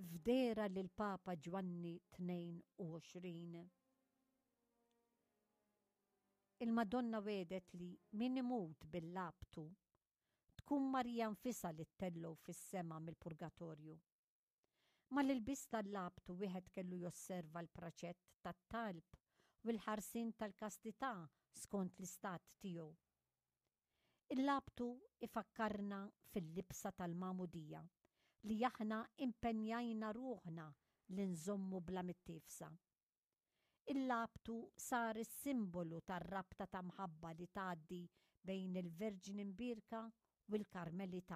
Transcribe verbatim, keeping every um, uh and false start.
F'dehra lill-Papa Ġwanni tnejn u għoxrin, il-Madonna wegħdet li min imut bil-labtu tkun Marija nfisha li ttellgħu fis-sema mill-purgatorju. Mal-ilbies tal-labtu wieħed kellu josserva l-praċett tat-talb u l-ħarsien tal-kastità skont l-istat tiegħu. Il-labtu ifakkarna fil-libsa tal-magħmudija li aħna impenjajna ruħna li nżommu bla mittiefsa. Il-labtu sar is-simbolu tar-rabta ta' mħabba li tgħaddi bejn il-Verġni Mbierka u l-Karmelitani.